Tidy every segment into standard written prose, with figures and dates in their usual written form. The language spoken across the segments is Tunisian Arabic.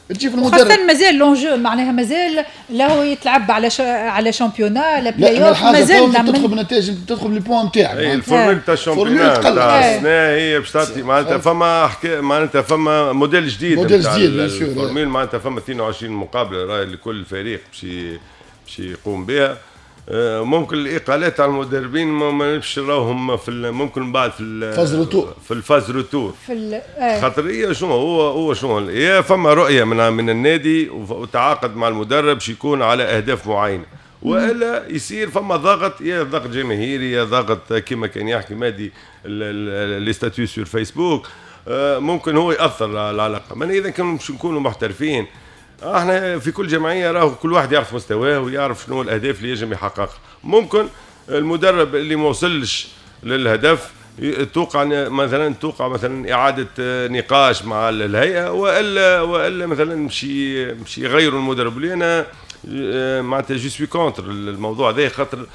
تجي في المدرب، خاصة مازال l'enjeu، معناها مازال له يتلعب على championnat لا بلاي اوف، مازال تدخل بالنتائج، تدخل les points نتاعك. ال formule تاع ال championnat تاع السنة هي باش تعطي معناتها فما معناتها فما موديل جديد، موديل جديد bien sûr. ال formule معناتها فما 22 مقابله راهي لكل فريق باش يقوم بها. ممكن الاقالات على المدربين ما نمشي راهم في ممكن بعد في phase retour، في ال phase retour، في خاطر هي شنو هو شنو هي فما رؤية من النادي وتعاقد مع المدرب باش يكون على اهداف معينة، والا يصير فما ضغط، يا ضغط جماهيري يا ضغط كما كان يحكي مادي les statuts sur Facebook، ممكن هو ياثر على العلاقة. من اذا كانوا باش نكونوا محترفين احنا في كل جمعية، راهو كل واحد يعرف مستواه ويعرف شنو الاهداف اللي يجب يحققها. ممكن المدرب اللي ما وصلش للهدف توقع مثلا اعاده نقاش مع الهيئه، والا مثلا مشي يغيروا المدرب. اللي انا معناتها je suis contre الموضوع هذا، خاطر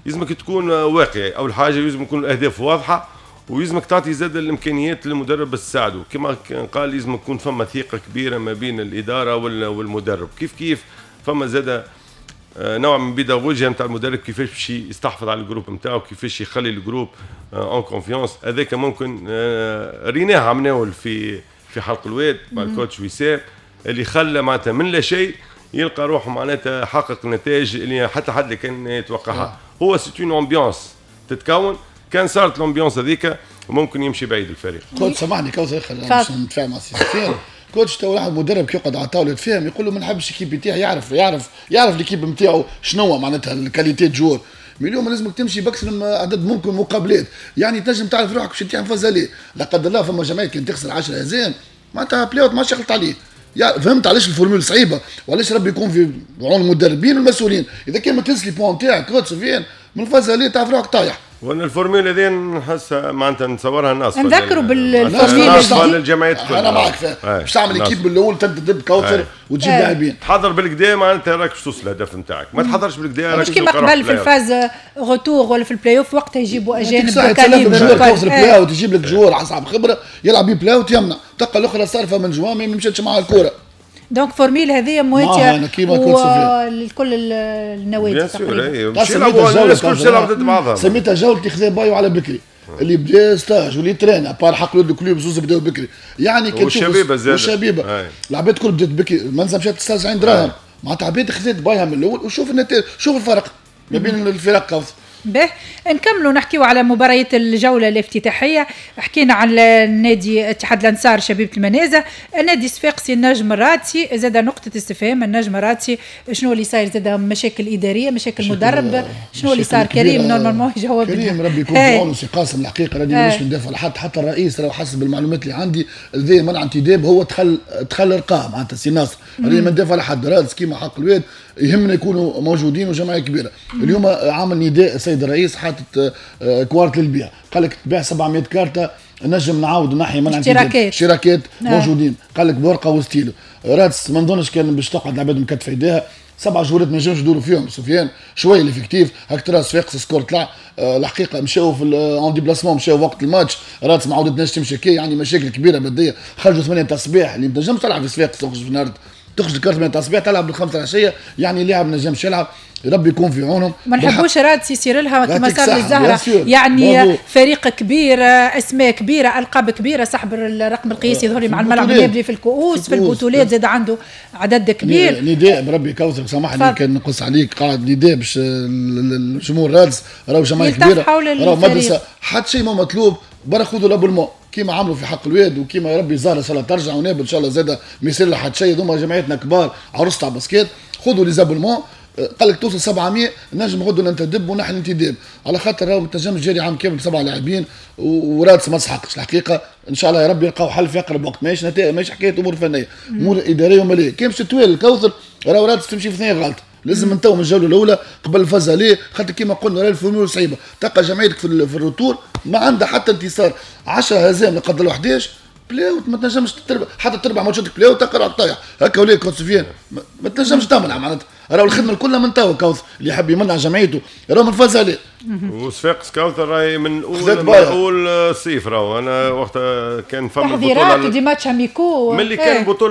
لازمك تكون واقعي. اول حاجة لازم يكون الاهداف واضحه، ويلزمك تعطي زاد الامكانيات للمدرب باش تساعده. كما قال لازم يكون فما ثقة كبيرة ما بين الادارة والمدرب. كيف كيف فما زاد نوع من بيداغوجيا نتاع المدرب، كيفاش باش يستحفظ على ال groupe نتاعو، كيفاش يخلي ال groupe en confiance. هذاك ممكن ريناه عمناول في حلق الواد مع ال coach وسام، اللي خلى معناتها من لا شيء يلقى روحه معناتها حقق نتائج اللي حتى حد اللي كان يتوقعها. هو c'est une ambiance تتكون، كان صارت l'ambiance هذيك ممكن يمشي بعيد الفريق. coach سامحني كوثر، باش نتفاهم مع سي سفيان. coach تو واحد مدرب كي يقعد على الطاولة يتفاهم، يقول له ما نحبش l'équipe نتاعي، يعرف l'équipe نتاعو شنو معناتها ال qualité joueurs. mais اليوم لازمك تمشي باكثر عدد ممكن مقابلات، يعني تنجم تعرف روحك باش تطيح phase aller. لا قدر الله فما جمعية كان تخسر 10 هزائم معناتها play-out ما عادش يخلط عليه. يعني فهمت علاش ال formule صعيبه، وعلاش ربي يكون في عون المدربين والمسؤولين. اذا كان ما تهز les points تاعك coach سفيان من ال phase aller تعرف روحك طايح. وانا ال formule هذه نحس معناتها نتصورها الناس نذكروا بال formule للجمعيات. انا معك باش تعمل équipe بالاول تنتدب كوثر وتجيب لاعبين. تحضر بالكدا معناتها راك باش توصل الهدف نتاعك، ما تحضرش بالكدا راك مش كيما قبل في ال phase retour ولا في البلاي اوف وقتها يجيبوا اجانب calibre. كوثر play-out يجيب لك joueur اصحاب خبره يلعب بيه play-out يمنع، تلقى الاخرى صارفه من جوان ما مشاتش مع الكره. donc formule هذه مواتيه لكل النوادي تقريبا. الناس تلعب ضد بعضها. سميتها جولة خذا بايو على بكري، اللي بدا stage واللي traîne à part حق ال club زوز بداو بكري، يعني كي والشبيبه زاد. والشبيبه العباد الكل بدات بكري، منزل مشات stage عين دراهم، معناتها عباد خذت بايها من الاول، وشوف النتائج، شوف الفرق ما بين الفرق. به نكملوا نحكيو على مباريات الجولة الافتتاحية. حكينا على النادي اتحاد الأنصار شبيبة المنازه، النادي الصفاقسي النجم الرادسي، زاد نقطة استفهام النجم الرادسي شنو اللي صاير؟ زاد مشاكل إدارية، مشاكل مدرب، شنو اللي صار؟ كريم normalement يجاوب. كريم ربي يكون في عونه سي قاسم. الحقيقة راني مانيش ندافع لحد، حتى الرئيس راه حسب المعلومات اللي عندي ذي منع انتداب هو دخل ارقام معناتها سي ناصر. راني ما ندافع لحد، رادس كيما حق الواد يهمنا يكونوا موجودين وجمعية كبيره. اليوم عامل نداء السيد الرئيس، حاطط كوارت للبيع، قال لك تبيع 700 كارته نجم نعاود نحي منع اشتراكات. اشتراكات موجودين، قال لك بورقه وستيلو. رادس ما نظنش كان باش تقعد العباد مكتفه يديها، سبع جولات ما ينجمش يدوروا فيهم سفيان، شوية l'effectif هاك ترى صفاقس score طلع. الحقيقة مشاو في en déplacement، مشاو وقت الماتش، رادس ما عاودتناش تمشي كي يعني مشاكل كبيرة ماديه. خرجوا 8 تاع الصباح، اللي ما تنجمش تلعب في صفاقس، تخرج في نهار، تخرج الكارت 8 تاع الصباح تلعب بالخمسة العشيه، يعني اللاعب ما نجمش يلعب. ربي يكون في عونهم. ما نحبوش رادس يصير لها كما صار للزهره، يعني فريق كبير، اسماء كبيره، القاب كبيره، صاحب الرقم القياسي يظهر لي مع الملعب النابلي في الكؤوس، في البطولات زاد عنده عدد كبير. نداء بربي كوثر، سامحني كان نقص عليك، قاعد نداء باش الجمهور رادس راهو جمعية كبيره، راهو مدرسه، حتى شيء ما مطلوب، برا خذوا l'abonnement كيما عملوا في حق الواد، وكيما ربي زهره ان شاء الله ترجع، ونابل ان شاء الله زاد ما يصير لها حتى شيء. هذوما جمعيتنا كبار عروسه تاع basket، خذوا les abonnements. قال لك توصل 700 نجم غدو ننتدب ونحن انتداب، على خاطر راهو ما تنجمش تجري عام كامل بسبعة لاعبين، ورادس ما تسحقش الحقيقه. ان شاء الله يا ربي يلقاو حل في اقرب وقت، ماهيش نتائج، ماهيش حكاية امور فنيه، امور ادارية وماليه. كان باش تتوالى الكوثر راهو رادس تمشي في ثنيه غلط، لازم من تو من الجولة الاولى قبل ال phase aller، خاطر كيما قلنا راهي ال formule صعيبه، تلقى جمعيتك في ال retour ما عندها حتى انتصار، 10 هزائم لا قدر الله 11 play-out ما تنجمش تربح، حتى تربح ماتشاتك play-out تلقى روحك طايح هكا ولا coach سفيان ما تنجمش تمنع معناتها. راهو الخدمة كلها من توا، كوثر، اللي يحب يمنع جمعيته راهو من فاز عليه. وصفاقس كوثر راهي من اول الصيف، راهو انا وقت كان فما تحضيرات، des matchs amicaux. ملي كان البطولة.